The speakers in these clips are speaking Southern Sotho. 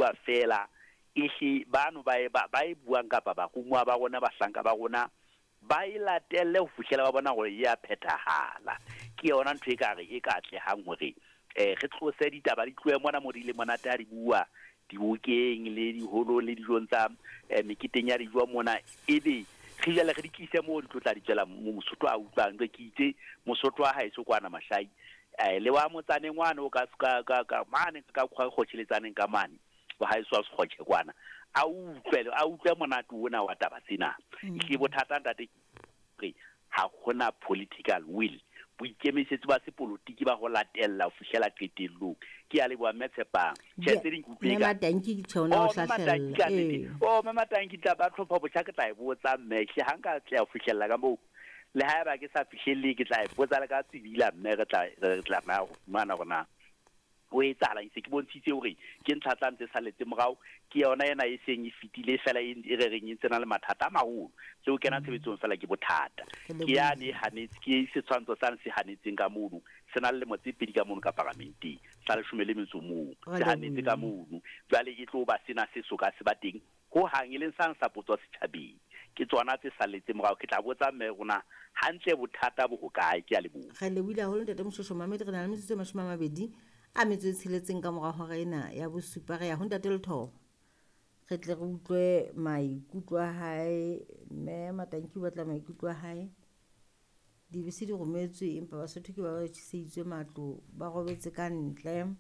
bua feela, ehle bano ba e, ba, ba e buang kapa barumuwa ba rona, bahlanka ba rona, ba e latelle ho fihlela ba bona hore e a phethahala. Ke yona ntho e ka re e ka atlehang hore eh, re tlose ditaba di tlohe mona mo di le monate ha di bua dibokeng le diholong le dijong tsa eh, meketeng ya dijo mona, ebe re jale re di tlise moo di tlo tla di tswela mo Mosotho a utlwang. Jwale ke itse Mosotho wa haeso kwana Mashai, eh, le wa motsaneng wane o ka, ka, ka, ka mane ka kgotjheletsaneng ka mane wa haeso wa Sekgotjhe kwana, a utlwe, a utlwe monate ona wa taba tsena. Ehlile bothata ntate ke ha hona political will, boikemisetso ba sepolotiki ba ho latella ho fihlela qetellong. Ke a leboha Mme Tshepang. Tjhe, tse ding ke utlwe Mme ka Matanki tjhe o ne o Oh, Mme Matanki ka hlahlella. nnete. Ee. Oh, Mme Matanki tla ba tlhopha botjha ke tla e botsa mme. Ehlile ha nka atleha ho fihlella ka moo, le haeba ke sa fihlelle ke tla e botsa le ka tsebila mme re tla re tlameha ho fumana hore na ho etsahalang. Se ke bontshitse hore ke ntlha tsa ntse saletse morao, ke yona ena e seng e fetile fela e e re reng e ntse na le mathata a maholo. Le ho kena tshebetsong fela ke bothata. Re Ke yane lebohile. e hanetse, ke setshwantsho sane se hanetseng ka mono, se na le lemo tse pedi ka mono ka paramenteng, sa leshome le metso mong, Re se hanetse ka lebohile. mono. Jwale e tlo ba sena se soka se ba teng ho hang, e leng sang sa potswa setjhabeng. Ke tsona tse salletseng morao. Ke tla botsa mme rona hantle bothata bo hokae. Ke a leboha. Re lebohile haholo ntate Moshweshwe Mohammed. Re na le metsotso e 26 ka mora hora ena ya bosupa. Re ya ho ntate Lethoba, re tle re utlwe maikutlo a hae. Mme Matanki o batla maikutlo a hae. Dibese di rometswe empa Basotho ke ba ba tjheseditswe matlo, ba robetse ka ntle.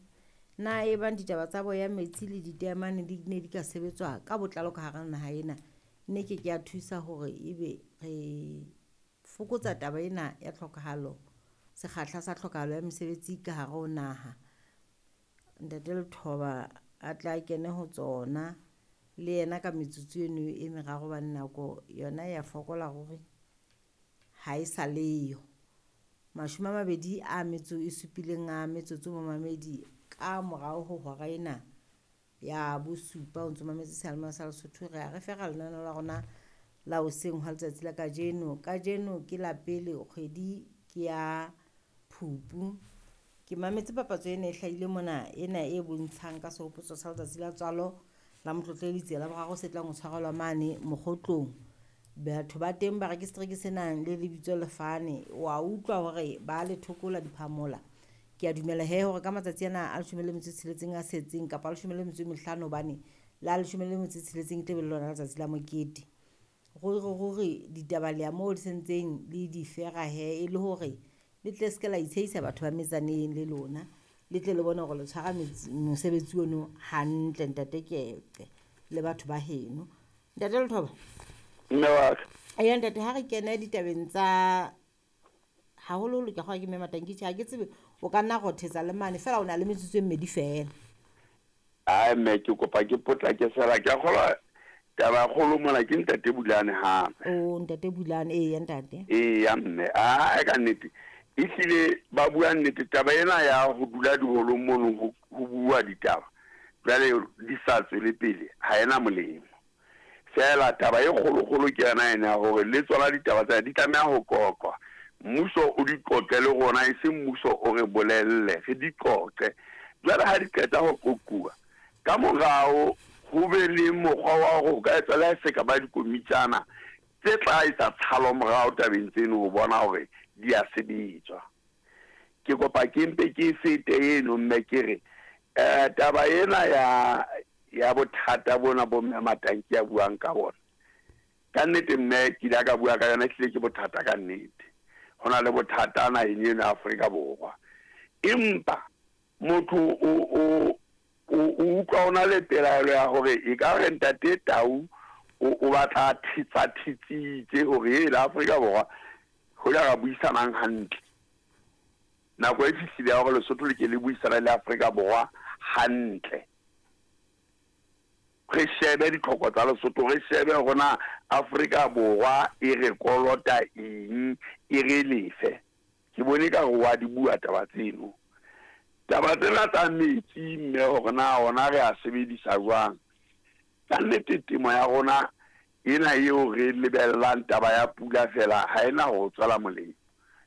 Na e bang ditaba tsa boya metsi le diteemane di ne di ka sebetswa ka botlalo ka hara naha ena, ne ke ke ya thusa hore ebe re fokotsa taba ena ya tlhokahalo, sekgahla sa tlhokahalo ya mesebetsi ka hare ho naha. Ntate Lethoba a tla kene ho tsona le yena ka metsotso eno e meraro, hobane nako yona ya fokola ruri, ha e sa leyo. 27 a metsotso momamedi ka morao ho hora ena ya bosupa. O ntso mametse seyalemoya sa Lesotho. Re a re fera lenaneo la rona la hoseng hwa letsatsi la kajeno. Kajeno ke la pele kgwedi ke ya Phupu. Ke mametse papatso ena e hlahile mona, ena e bontshang ka sehopotso sa letsatsi la tswalo la Motlotlehi Letsie la boraro se tlang ho tshwarelwa mane Mokgotlong. Batho ba teng ba re ke setereke se nang le lebitso lefane. Wa utlwa hore ba le thokola diphamola. Ke a dumela he hore ka matsatsi ana a 16 a setseng kapa a 15, hobane la 16 e tla be le lona letsatsi la mokete. Ruri ruri ditaba le ya moo di sentseng le di fera he, e le hore le tle se ke la itshehisa batho ba metsaneng le lona, le tle le bone hore le tshwara mosebetsi ono hantle ntate Keqe le batho ba heno. Ntate Lethoba. Mme wa ka. Eya ntate, ha re kene ditabeng tsa haholoholo ke kgolwa ke Mme Matanki, tjhe ha ke tsebe o ka nna rothetsa le mane fela, o na le metsotso e mmedi fela. Ai mme ke kopa ke potlake fela, ke a kgolwa taba kgolo mona ke ntate Bulane hape. O ntate Bulane, eya ntate. Eya mme, ai ka nnete ehlile ba bua nnete. Taba ena ya ho dula diholong mono ho bua ditaba jwale di sa tswele pele ha ena molemo. Fela taba e kgolokgolo ke yona ena ya hore le tsona ditaba tsena di tlameha ho qoqwa. Mmuso o di qoqe le rona, e seng mmuso o re bolelle, re di qoqe. Jwale ha di qeta ho qoquwa, ka morao ho be le mokgwa wa hore ho ka etswa le ha e se ka ba dikomitjana tse tla etsa tshalo morao tabeng tseno ho bona hore di a sebetswa. Ke kopa ke mpe ke fete eno mme ke re taba ena ya ya bothata bona bo Mme Matanki a buang ka bona, ka nnete mme ke ile ka bua ka yona, ehlile ke bothata ka nnete. Ho na le bothata naheng eno ya Afrika Borwa, empa motho o o o utlwa o na le pelaelo ya hore e ka re ntate Tau o batla a thetsa thetsitse hore e la Afrika Borwa ho ja ra buisanang hantle. Nako e fihlile ya hore Lesotho le ke le buisane le Afrika Borwa hantle. Re shebe ditlhoko tsa Lesotho, re shebe hore na Afrika Borwa e re kolota eng, e re lefe. Ke bone ka re wa di bua taba tseno. Taba tsena tsa metsi mme hore na ona re a sebedisa jwang. Ka nnete temo ya rona ena eo re lebellang taba ya pula fela ha ena ho tswela molemo.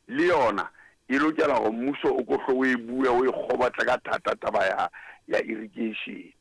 Le yona e lokela hore mmuso o ko hle o e bue, o e kgobotle ka thata taba ya ya irrigation.